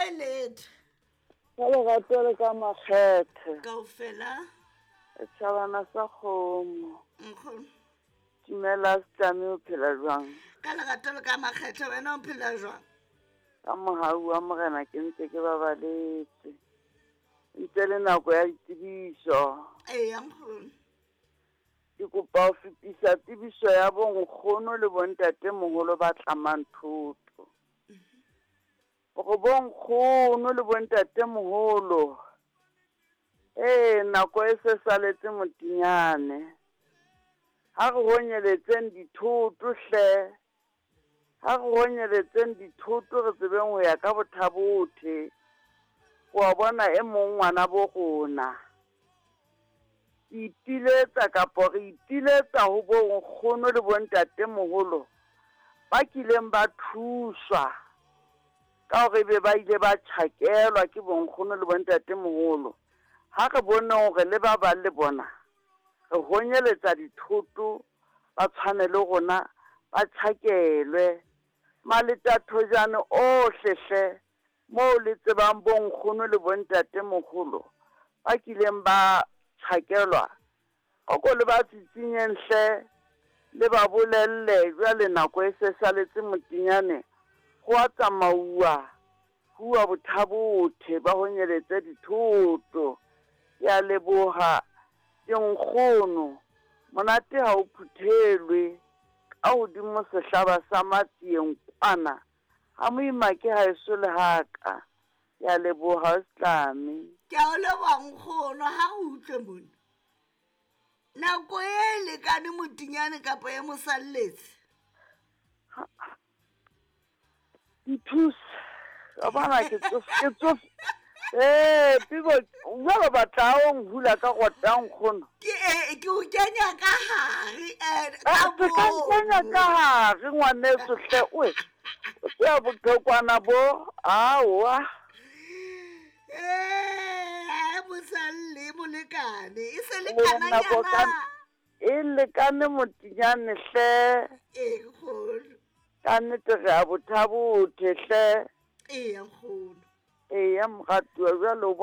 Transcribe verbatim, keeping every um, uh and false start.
kae letho? Ka lerato le ka makgethe. Kaofela. Setjhabana sa kgomo. Nkgono. Dumela Setlame, o phela jwang? Ka lerato le ka makgethe, wena o phela jwang? Ka mohau wa Morena ke ntse ke babaletse. Ntse le nako ya ditsebiso. Eya nkgono. Ke kopa ho fetisa tsebiso ya bonkgono le bontatemoholo ba tlamang thoto. Hore bonkgono le bontatemoholo, ee, nako e se saletse motinyane. Ha re honyeletseng dithoto hle. Ha re honyeletseng dithoto re tsebeng ho ya ka bothabothe. Wa bona e mong ngwana bo rona. Ipiletsa kapa re ipiletsa ho bonkgono le bontatemoholo ba kileng ba thuswa ka hore be ba ile ba tjhakelwa ke bonkgono le bontatemoholo. Ha re bone hore le ba bang le bona re honyeletsa dithoto ba tshwane le rona ba tjhakelwe. Maletathojane ohle hle moo le tsebang bonkgono le bontatemoholo ba kileng ba tjhakelwa, o ko le ba tsitsinyeng hle, le ba bolelle jwale nako e se saletse motinyane, ho a tsamauwa, huwa bothabothe ba honyeletse dithoto. Ke a leboha ke nkgono, monate ha o phuthelwe ka hodimo sehlaba sa matsieng kwana, ha moima ke haeso le haka. Ke a leboha Setlame. Ke a o leboha nkgono, ha o utlwe mona. Nako e lekane motinyane kapa e mo salletse? Nthuse. Wa bona ke tsof-, ke tsof-, eh, Pibo, jwale batla o nhula ka rota nkgono. Ke, eh, ke o kenya ka hare, eh, ka Ah, ke ka moo. nkenya ka hare, ngwaneso hle, oe. O tseba bothokwana bo, aowa. Eh, mosalle molekane, e se Eh, lekana nako ka nyana. E lekane motinyane hle. Eh, nkgono. Ka nnete re a bothabothe hle. Eya, nkgono. Eya, moratuwa, jwale o bona